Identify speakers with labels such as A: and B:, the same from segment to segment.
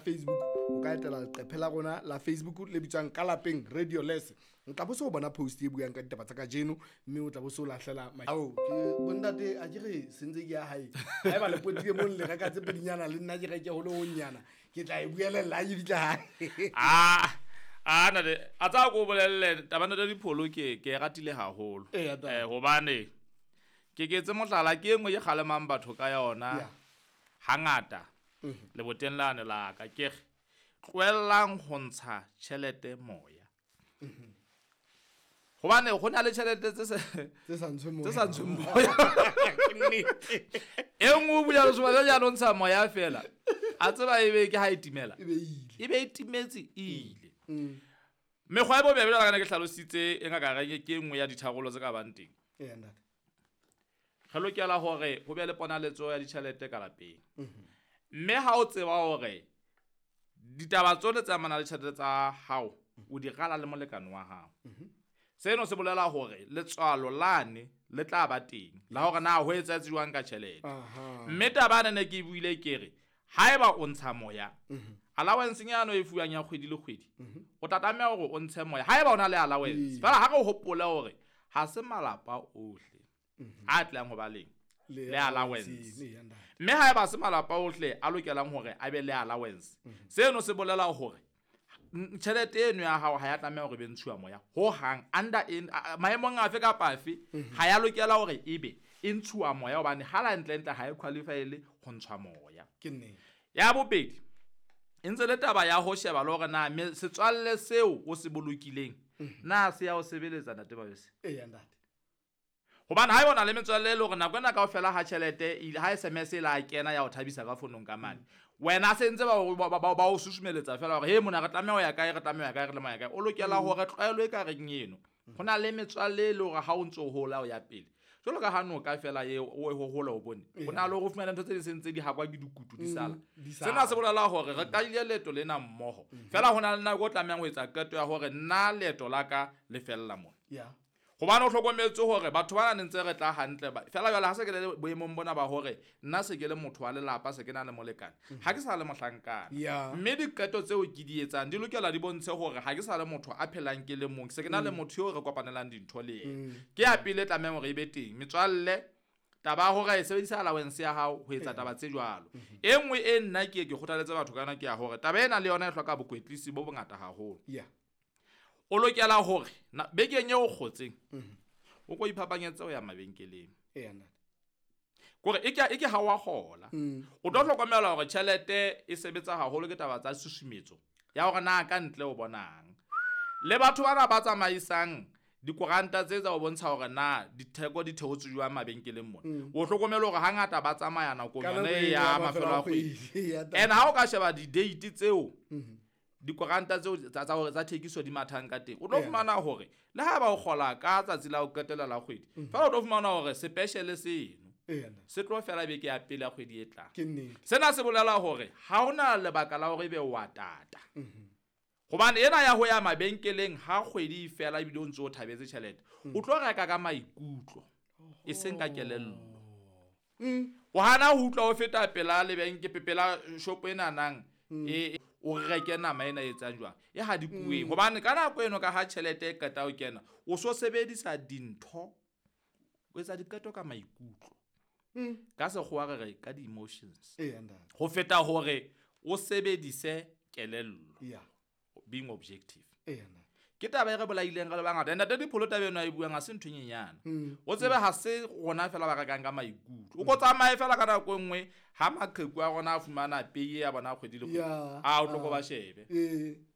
A: Facebook, o ka etela leqephe la rona la Facebook le bitswang Ka Lapeng Radio Les. O tla bo se o bona post e buang ka ditaba tsa kajeno, mme o tla bo se o lahlela ao ke bontate a ke re sentse ke ya hae. Haeba le potile mo le reka tse pedinyana le nna ke reke ho le honyana, ke tla e buelella ha ke fihla hae.
B: A ntate, a tsa ko bolelle taba ntate Dipholo ke e ratile haholo.
A: Eya, ntate.
B: Hobane ke ke etse mohlala ke e nngwe e kgalemang batho ka yona. Hangata leboteng lane la ka ke re tlohellang ho ntsha tjhelete moya. Hobane ho na le tjhelete tse
A: sa ntshweng moya.
B: Tse sa ntshweng moya. E nngwe o bula lesoba jwale ya ntsha moya fela. A tseba ebe ke ha e timela.
A: E be ile.
B: E be e timetse e ile. Mekgwa e bobebe jwalo ka ne ke hlalositse e ngaka reng ke e nngwe ya ditharollo tse ka bang teng.
A: Eya, ntate.
B: Re lokela hore ho be le ponaletso ya ditjhelete ka lapeng. Mme ha o tseba hore ditaba tsohle tse amanang le tjhelete tsa hao o di rala le molekane wa hao. Seno se bolela hore letswalo lane le tla ba teng la hore na ho etsahetse jwang ka tjhelete. Mme taba ena ne ke e buile ke re haeba o ntsha moya, allowance nyano e fuwang ya kgwedi le kgwedi, o tla tlameha hore o ntshe moya haeba o na le allowance. Fela ha re hopole hore ha se malapa ohle a tlang ho ba leng le allowance. Mme haeba se malapa ohle a lokelang hore a be le allowance, seno se bolela hore tjhelete eno ya hao ha ya tlameha hore e be ntshuwa moya ho hang. Under in maemong afe kapa afe, ha ya lokela hore ebe e ntshuwa moya, hobane ha la ntle ntle ha e qualify-ele ho ntshwa moya.
A: Ke nnete.
B: Ya bobedi, e ntse le taba ya ho sheba le hore na setswalle seo o se bolokileng, na se ya o sebeletsa ntate Mabese?
A: Eya, ntate.
B: Hobane ha eba o na le metswalle e le hore nako ena kaofela ha tjhelete ile, ha SMS e la kena ya o thabisa ka fonong ka mane, wena se ntse ba o susumeletsa fela hore, he mona re tlameha ho ya kae, re tlameha ho ya kae, re tlameha ho ya kae. O lokela hore tlwaelo e ka reng eno. Ho na le metswalle e le hore ha o ntso hola o ya pele. Jwalo ka ha noka fela e o e hohola o bone. Ho na le hore o fumane ntho tse ding se ntse di hakwa ke dikutu di sala.
A: Di sala.
B: Sena se bolela hore re qadile leeto lena mmoho. Fela ho na le nako o tlamehang ho etsa qeto ya hore nna leeto la ka le fella mona. Hobane o hlokometse hore batho bana ne ntse re tla hantle ba, fela jwale ha se ke le boemong bona ba hore nna se ke le motho wa lelapa, se ke na le molekane, ha ke sa le mohlankana. Mme diqeto tseo ke di etsang di lokela di bontshe hore ha ke sa le motho a phelang ke le mong, se ke na le motho eo re kopanelang dintho le yena. Ke ya pele e tlamehang hore e be teng. Metswalle, taba ya hore e sebedisa allowance ya hao ho etsa taba tse jwalo. E nngwe e nna ke ke kgothaletse batho ka yona ke ya hore taba ena le yona e hloka bokwetlisi bo bongata haholo. O lokela hore bekeng eo o kgotseng, o ko iphapanyetse ho ya mabenkeleng.
A: Eya, ntate.
B: Kore e ke ha wa kgola. O tlo hlokomela hore tjhelete e sebetsa haholo ke taba tsa susumetso ya hore na ka ntle o bonang. Le batho bana ba tsamaisang dikoranta tse tsa ho bontsha hore na ditheko di theotswe jwang mabenkeleng mona. O hlokomele hore hangata ba tsamaya nakong
A: Ka
B: yona
A: nako
B: e
A: e
B: ya
A: ya
B: mafelo a
A: mafelo a
B: kgwedi.
A: kgwedi. Ya taba.
B: And ha o ka sheba di-date tseo, dikoranta tseo tsa thekiso di mathang ka teng, o tlo fumana hore le ha ba o kgola ka tsatsi la ho qetela la kgwedi, fela o tlo fumana hore special seno se tlo fela beke ya pele ya kgwedi e tlang.
A: Ke nnete.
B: Sena se bolela hore ha hona lebaka la hore ebe wa tata. Hobane ena ya ho ya mabenkeleng ha kgwedi e fela ebile o ntse o thabetse tjhelete, o tlo reka ka maikutlo, e seng ka kelello. O hana ho utlwa o feta pela lebenke, pela shopo e nanang, o reke nama ena e etsang jwang, e hadikuweng. Hobane ka nako eno ka ha tjhelete e qeta ho kena, o so sebedisa dintho, o etsa diqeto ka maikutlo. Ka sekgowa re re ka di-emotions.
A: Eya, ntate.
B: Ho feta hore o sebedise kelello. Being objective.
A: Eya, ntate.
B: Ke taba e re bolaileng re le bangata. Ntate Dipholo taba eno a e buang ha se ntho e nyenyane. O tsebe ha se rona fela ba rekang ka maikutlo. O ko tsamaye fela ka nako e nngwe ha maqheku a rona a fumana pay ya bona kgwedi le kgwedi. A o tlo ko ba shebe.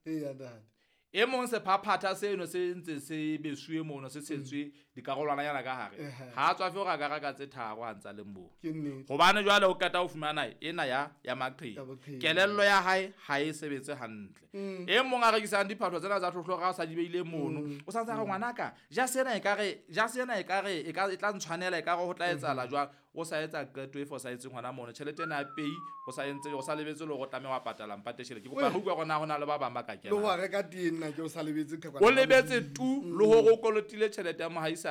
A: Eya, ntate.
B: E mong sephaphatha seno se ntse se besuwe mono, se tshetswe dikarolwananyana ka hare. Ha a tswafe hore a ka reka tse tharo ha ntsa le moo.
A: Ke nnete.
B: Hobane jwale o qeta ho fumana ena ya maqheku.
A: Ya maqheku.
B: Kelello ya hae ha e sebetse hantle. E mong a rekisang diphahlo tsena tsa tlhotlhora a sa di beile mono. O sa ntse a re, ngwanaka, ja sena e ka re, ja sena e ka re, e ka, e tla ntshwanela, e ka re ho tla etsahala jwang. O sa etsa qeto e fosahetseng hona mono. Tjhelete ena ya pay, o sa entse, o sa lebetse le hore o tlameha wa patala mpate tjhelete. Ke kopa re utlwe hore na ho na le ba bang ba ka
A: Le ho
B: kenang.
A: reka tee nna ke o sa lebetse qhekwana
B: O
A: la
B: lebetse
A: Modimo.
B: tu, le hore o kolotile tjhelete ya mohaisane.